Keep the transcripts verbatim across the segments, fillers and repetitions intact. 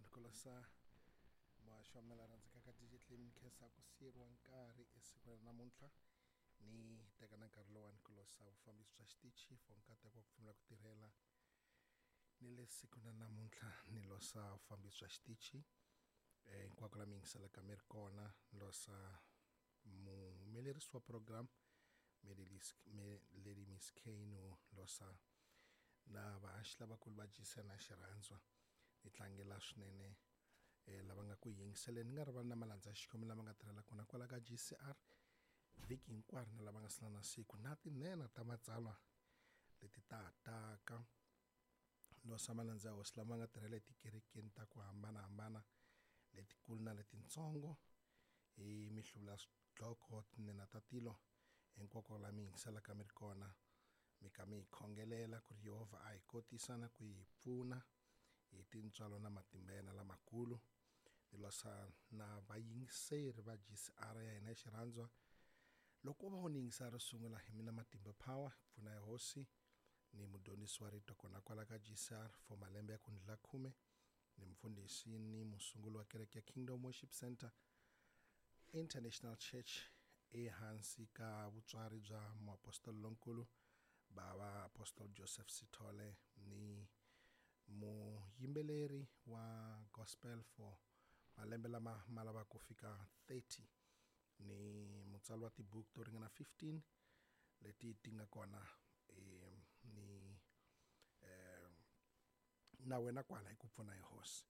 lowani ku losa muhaxi wa mina la rhandzekaka D J Clem. Khensa ku siyeriwa nkarhi esikwini ra namuntlha. Ni teka na nkarhi lowani ku losa vufambisi bya xitichi for nkateko wa ku pfumela ku tirhela ni le siku na namuntlha. Ni losa vufambisi bya xitichi eh hinkwako la mi yingiselaka mi ri kona. Ni losa muhumelerisi wa program Lady Miss K, no losa na vahaxi lavakulu va G C N na xirhandzwa. Ni tlangela swinene eh lava nga ku yingiseleni, ni nga rivali na malandza ya Xikwembu lama nga tirhela kona kwala ka G C R vhiki hinkwaro, na lava nga sala na siku na tinene ta matsalwa leti ta taka. Losa malandza ya Hosi lama nga tirhela etikerekeni ta ku hambanahambana, letikulu na letitsongo, hi mihluvula ya swidloko, tinene ta tilo, hinkwako la mi yingiselaka mi ri kona. Mi ka mi hi khongelela ku ri Yehovha a hi kotisa na ku hi pfuna hi tintswalo na matimba yena lamakulu. Ni losa na vayingiseri va G C R ya hina ya xirhandzwa. Loko u va u ni yingisela ro sungula, hi mina Matimba Power, pfuna ya Hosi, ni mudyondzisi wa rito kona kwala ka G C R for malembe ya ku ndlula khume, ni mufundhisi ni musunguli wa kereke ya Kingdom Worship Center International Church ehansi ka vutswari bya muapostoli lonkulu bava Apostle Joseph Sithole, ni muyimbeleri wa gospel for malembe lama ma lava ku fika thirty, ni mutsari wa tibuku to ringana fifteen leti ti nga kona eh, ni eh, na wena kwala hi ku pfuna hi Hosi,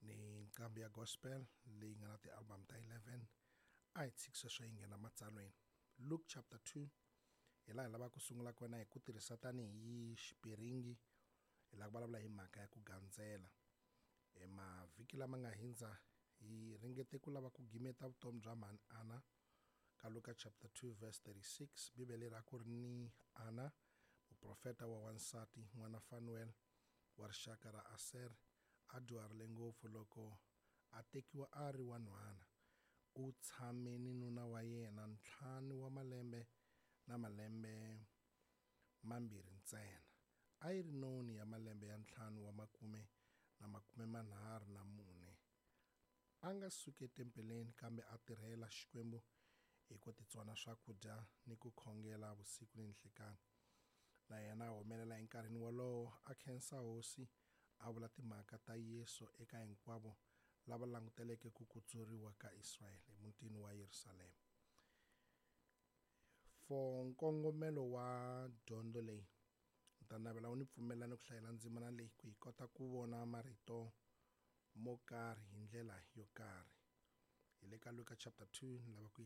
ni nqambi ya gospel leyi nga na ti-album ta eleven. A hi tshiki sweswo, yi nghena matsalweni. Luke chapter two hi laha hi lavaka ku sungula kona, hi ku tirhisa tanihi xipiringi. Hi lava ku vulavula hi mhaka ya ku gandzela. E mavhiki lama nga hindza hi ringete ku lava ku gimeta vutomi bya mhani Ana ka Luka chapter two verse thirty-six. Bibele ra ku ri ni Ana, muprofeta wa wansati, n'wana Fanuel wa rixaka ra Aser, a dyuharile ngopfu loko a tekiwa a ri wanhwana. U tshame ni nuna wa yena ntlhanu wa malembe na malembe mambirhi ntsena. A yi ri noni ya malembe ya ntlhanu wa makume na makume manharhu na mune. A nga suki etempeleni, kambe a tirhela Xikwembu hi ku titsona swakudya ni ku khongela vusiku ni nhlikani. Na yena a humelela enkarhini wolowo, a khensa Hosi, a vula timhaka ta Yesu eka hinkwavo lava languteleke ku kutsuriwa ka Israyele emutini wa Yerusalema. For nkongomelo wa dyondzo leyi, ni ta navela u ni pfumelelani ku hlayela ndzimana leyi ku hi kota ku vona marito mo karhi hi ndlela yo karhi. Hi le ka Luka chapter two, ni lava ku yi